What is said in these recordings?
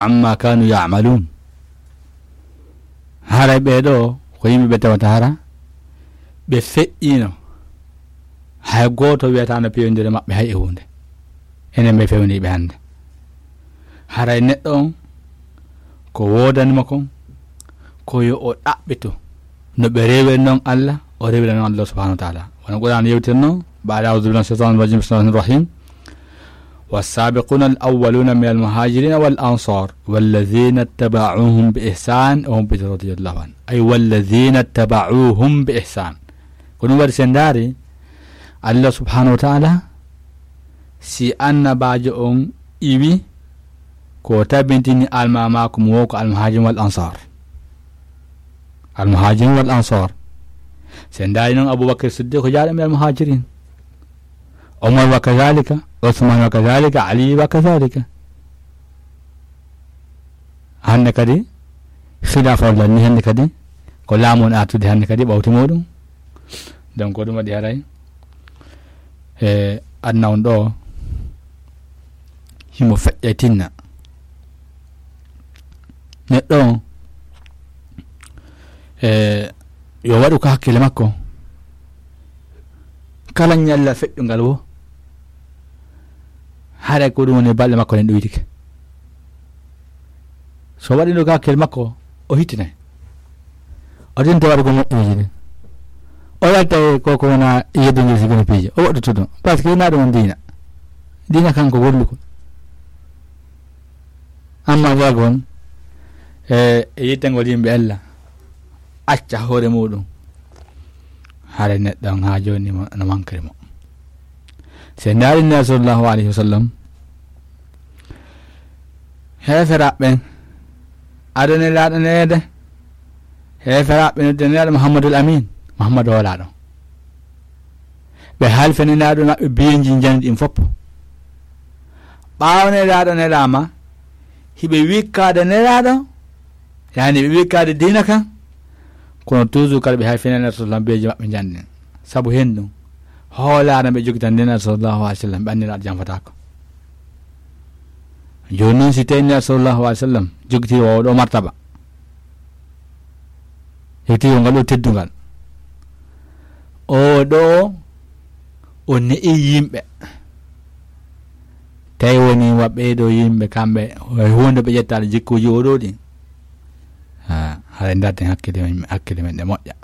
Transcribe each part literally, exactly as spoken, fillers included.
amma kanu ya'malun. Haray ɓee ɗoo ko yimɓe ɓe tawata hara ɓe feƴƴiino. Hay gooto wiyataano pewndire maɓɓe hay e huunde. Enen ɓe fewniiɓe hannde. Haray neɗɗo on ko woodani mo kon, ko yo o ɗaɓɓito no ɓe rewiri non Allah, o rewira non Allah subhanahu wa taala. Wano Qur'an yewtirno, baada a'udhu billahi minash shaitanir rajim, bismillahir rahmanir rahim. والسابقون الأولون من المهاجرين والأنصار والذين اتبعوهم بإحسان وهم رضي الله عنه. أي والذين اتبعوهم بإحسان. Ko ɗum waɗi sen ndaari, Allah subhanahu wa taala, si annabaajo on iwi, ko tabintini almaamaaku mo woo ko almuhajirin wal ansar. Almuhajirin wal ansar. Sen ndaari non Abubakar Siddiq ko jaaɗo min almuhajirin. Omar wa kadhalika, Usman wa kadhalika, Ali wa kadhalika. Hannde kadi, khilaafa on lanni hannde kadi, ko laamu on artude hannde kadi ɓawti muɗum. Donc, ko ɗum waɗi haray, e aduna on ɗoo, himo feƴƴa tinna. Neɗɗo on, e yo waɗu ko hakkille makko. Kala ñalla feƴƴungal wo, haray ko ɗum woni balɗe makko ɗen ɗoytike. So waɗino ka hakkille makko, o hittinay. O tinta waɗugo moƴƴeeji ɗin. O yalta e ko, ko wona yeddugol si kono piiji. O waɗutu ɗum. Parce que ina ɗum on diina. Diina kanko golluko. Amma jagon, e, e yittengol yimɓe Alla, acca hoore muɗum. Hare neɗɗo on haa jooni mo, no mankiri mo. Se ndaari Nulaaɗo sallallahu alayhi wa sallam, heeferaaɓe ɓen, ado Nelaaɗo neede, heeferaaɓe nodde Nelaaɗo Muhammadul Amin, Muhammadu hoolaaɗo. Ɓe halfini Nelaaɗo maɓɓe biyeeji njanndi ɗin fof. Ɓaawo Nelaaɗo nelaama, hiɓe wikkaade Nelaaɗo, yani ɓe wikkaade diina kan, kono toujours kala ɓe halfini Nelaaɗo sallallahu biyeeji maɓɓe njanndi ɗin. Sabu hen ɗum, hoolaare ɓe jogitan Nelaaɗo sallallahu alayhi wa sallam, ɓe anndi Nelaaɗo janfataako. Jooni noon, si tawii Nelaaɗo sallallahu alayhi wa sallam jogitii oo ɗoo martaba, jogitii oo ngal ɗoo teddungal, oo ɗoo o ne'i yimɓe, tawi woni wa ɓee ɗoo yimɓe kamɓe, e huunde ɓe ƴettaade jikkuuji oo ɗoo ɗin. Ha, haray ndaarten hakkille men, hakkille men ɗe moƴƴa.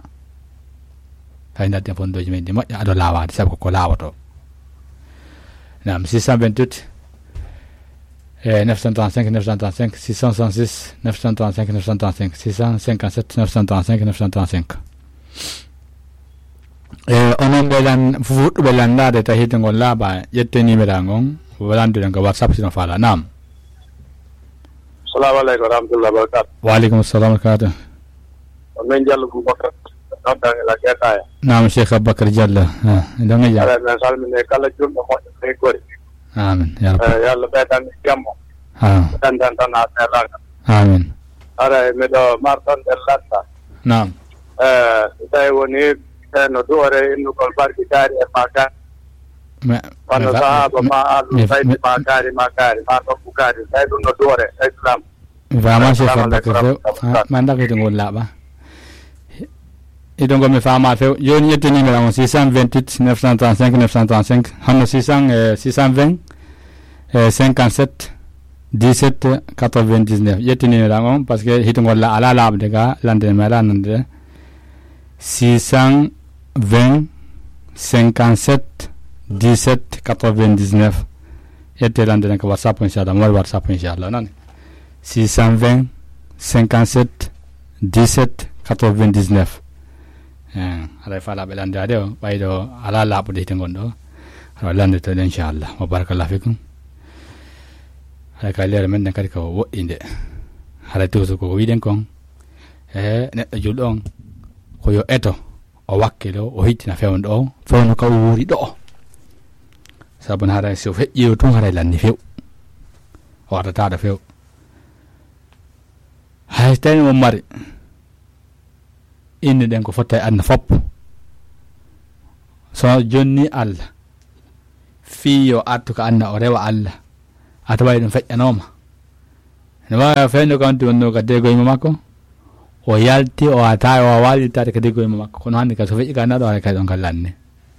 Hay ndaarten fondooji men ɗi moƴƴa, ado laawaade, sabu ko ko laawotoo. Naam, six cent vingt-huit, eh, neuf cent trente-cinq, neuf cent trente-cinq, six cent soixante-six, neuf cent trente-cinq, neuf cent trente-cinq, six cent cinquante-sept, neuf cent trente-cinq, neuf cent trente-cinq. Eh, onon ɓe lan-, fuɗɗuɓe lanndaade, tawi hiite ngol laaɓaa, ƴettee numéro ngon, lannduɗen ko WhatsApp, si no faalaa. Naam. Salamu aleykum wa rahmatullahi wa barakatuh. Wa aleykum salam wa rahmatullahi. Ko men Diallo Boubacar, noddan ila Guétaya. Naam, Cheikh Aboubacar Diallo. Ah, ɗon e jam. Ala, men salmini kala julɗo moƴƴo e gori. Amin, ya Rabbi. Eh, yo Allah ɓeydan en jammo. Ah. Ɓeydan tan a seeɗaaka. Amin. Ara, miɗo marɗon ɗen latta. Naam. Eh, so tawi woni, eh, no duwore innugol barki kaari e ma kaari. Wano sahaaba ma, ahlu bayti ma kaari, ma kaari, ma ɗokku kaari. Tawi ɗum no duwore e Islam. Mi faama, Cheikh Aboubacar Sow. Ah, ma ndakete ngol laaɓa. Ido ngol mi faama few. Jooni ƴetti numéro on, six cent vingt-huit, neuf cent trente-cinq, neuf cent trente-cinq. Hanno six cents, eh, six cent vingt, eh, cinquante-sept, dix-sept, quatre-vingt-dix-neuf. Ƴetti numéro on, parce que hitungol la, ala laaɓde ga, lande mi ala nande. Six cent vingt, cinquante-sept, dix-sept, quatre-vingt-dix-neuf. Ƴettee lande ɗen ko WhatsApp, inchallah. Mo waɗi WhatsApp, inchallah. Nani? Six cent vingt, cinquante-sept, dix-sept, quatre-vingt-dix-neuf. Eh, haray faalaaɓe lanndaade o, ɓayde o alaa laaɓude hite ngon ɗo. Haray lannde to ɗen, inchallah. Wa barakallahu fikum. Haray ka leere men ɗen kadi ko woɗɗinde. Haray toujours ko wiɗen kon. Eh, neɗɗo julɗo on, ko yo eto, o wakkilo, o hittina fewndo o, fewndo ka o wuuri ɗo. Sabu no haray si o feƴƴiima tun haray lanni few. O artataɗo few. Hay so tawi on mari, innuɗen ko fotta e aduna fof. So jonni Allah, fii yo artu ka aduna o rewa Allah, a taway ɗum feƴƴanooma. No waawi feewndo kam tun wonno ka degoyma makko. O yalti, o ata, o waali taade ka degoyma makko. Kono hannde ka so feƴƴi ka naɗo, haray kay ɗon ka lanni.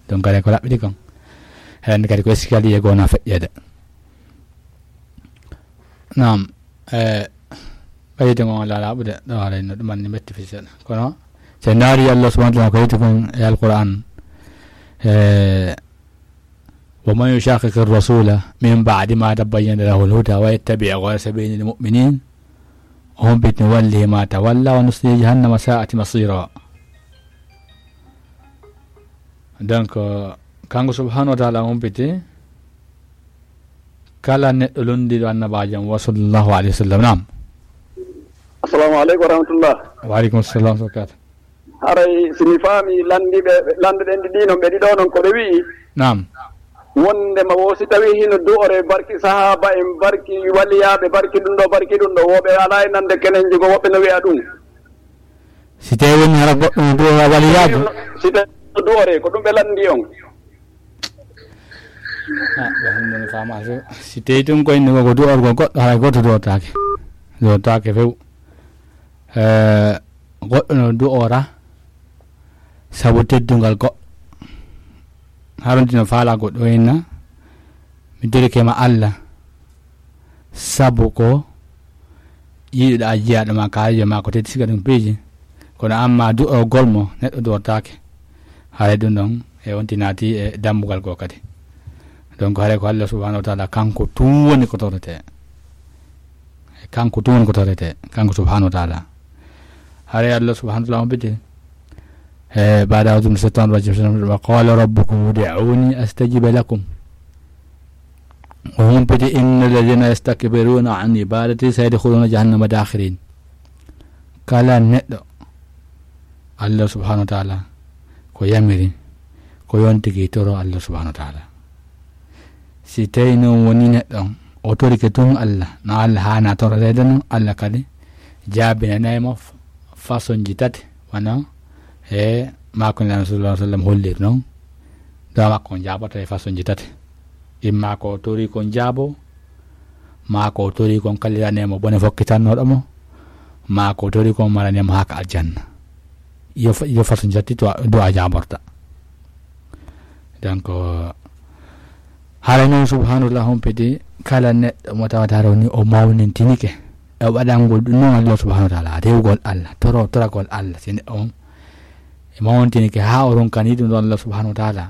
Donc kadi ko raɓɓiɗi kon. Hannde kadi ko escalier goo na feƴƴeede. Naam, e, ɓayde ngon alaa laaɓude, ɗo haray no ɗum anni metti fii seeɗa. Kono, so en ndaari Allah subhanahu wa ta'ala ko yetti kon e Alquran, e, ومن يشاقق الرسول من بعد ما تبين له الهدى ويتبع غير سبيل المؤمنين humpiti نوله ما تولى ونصله جهنم وساءت مصيرا. Donc, kanko subhanahu wa ta'ala humpiti kala neɗɗo lunndiiɗo annabaajo mo, sallallahu alayhi wa sallam. Naam. Assalamu aleykum wa rahmatullah. Wa aleykum salam wa barakatuh. Haray si mi faami lanndiiɓe, lannduɗen ɗi ɗi non, ɓe ɗiɗo non ko ɓe wi'i. Naam. Wonndema wo si tawi hino du'ore barki sahaaba en, barki waliyaaɓe, barki ɗum ɗo, barki ɗum ɗo, woɓɓe alaa e nande kenen jogo, woɓɓe no wi'a ɗum. Si tawi woni hara goɗɗo no du'ora waliyaajo. Si tawi no du'ore, ko ɗum ɓe lanndi on. Ah, ɗo hannde mi faama few. Si tawi tun ko inni ko du'orgol goɗɗo, haray gooto du'ortaake. Du'ortaake few. Eh, goɗɗo no du'ora sabu teddungal goɗɗo. Haronti no faala goɗɗo inna, mi dorike ma Allah, sabu ko yiɗuɗaa jiyaaɗo ma, kaalijo ma, ko teddi siga ɗum piiji. Kono amma du'orgol mo neɗɗo du'ortaake. Haray ɗum ɗon e on tinaati e dambugal goo kadi. Donc haray ko Allah subhanahu wa ta'ala kanko tun woni ko torete. Kanko tun woni ko torete, kanko subhanahu wa ta'ala. Haray Allah subhanahu wa ta'ala on bite. E, بعد أعوذ بالله من الشيطان الرجيم. وقال ربكم ادعوني أستجب لكم. O humpiti, إن الذين يستكبرون عن عبادتي سيدخلون جهنم داخرين. Kala neɗɗo Allah subhanahu wa ta'ala ko yamiri, ko yontigi toro Allah subhanahu wa ta'ala. Si tawi non woni neɗɗo on, o torike tun Allah, no Allah haana tororeede non, Allah kadi jaabinanay mo f-, façon ji tati, wano e maako Nulaaɗo sallallahu alaihi wasallam holliri non. Du'a makko on jaaboto e façon ji tati. Imma ko o tori kon jaabo, maa ko o tori kon kallirane mo bone fokkitannooɗo mo, maa ko o tori kon marane mo haaka aljanna. Yo fa-, yo façon ji tati du'a, du'a jaaborta. Donc, haray non subhanahu wa ta'ala humpiti kala neɗɗo mo tawata haray woni o mawnintinike e waɗangol ɗum non Allah subhanahu wa ta'ala, rewgol Allah, toro-, toragol Allah, si neɗɗo on e mawnintinike haa o ronkani ɗum ɗon Allah subhanahu wa ta'ala.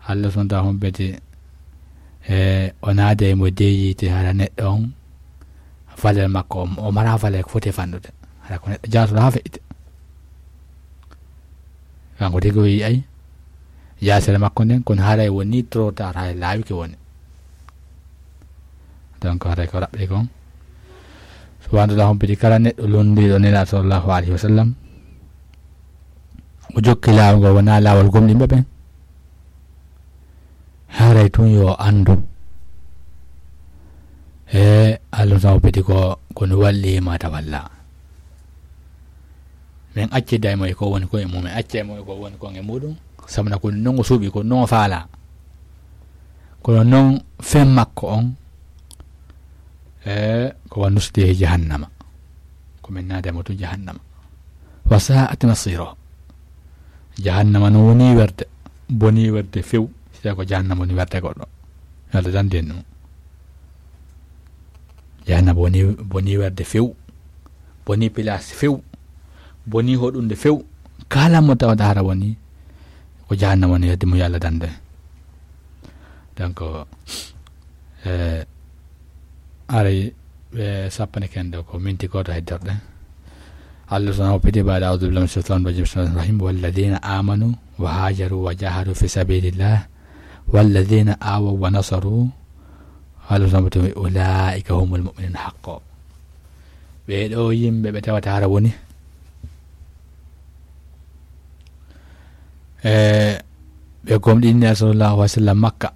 Allah subhanahu wa ta'ala humpiti, e, o naada e mo deeyiite hara neɗɗo on valeur makko, o, o mara valeur ko foti e fanɗude. Hara ko neɗɗo jaasuɗo haa feƴƴita. Kanko tigi o yi'ay jaasere makko nden, kono haray woni trop tard, hay laawike woni. Donc haray ko raɓɓi kon. Subhanahu wa ta'ala humpiti kala neɗɗo lunndiiɗo Nulaaɗo sallallahu alaihi wasallam. O jokki laawol ngol wonaa laawol gomɗinɓe ɓen. Haray tun yo anndu. E Allah taw peti ko, ko no walli ma tawalla. Min accida e mo e ko woni ko e mum, min acca e mo e ko woni ko e muɗum. Sabu na ko non o suuɓi, ko non o faala. Kono non fen makko on, e ko wa nuslihi jahannama. Ko min naada mo to jahannama. Wa sa'at masira. Jahannama no woni werde, boni werde few. Si tawi ko jahannama woni werde goɗɗo. Yo Allah dande en ɗum. Jahannama boni, boni werde few. Boni place few. Boni hoɗunde few. Kala mo tawata hara woni ko jahannama woni werde mo, yo Allah dande. Donc, e, aray, ɓe sappani ken ɗo ko minti gooto heddorde. Allah subhanahu wa ta'ala piti baada, أعوذ بالله من الشيطان الرجيم. بسم الله الرحمن الرحيم. والذين آمنوا وهاجروا وجاهدوا في سبيل الله والذين آووا ونصروا. Allah subhanahu wa ta'ala, أولئك هم المؤمنون حقا. Ɓee ɗoo yimɓe ɓe tawata hara woni, e, ɓe gomɗinni sallallahu alaihi wasallam Makka.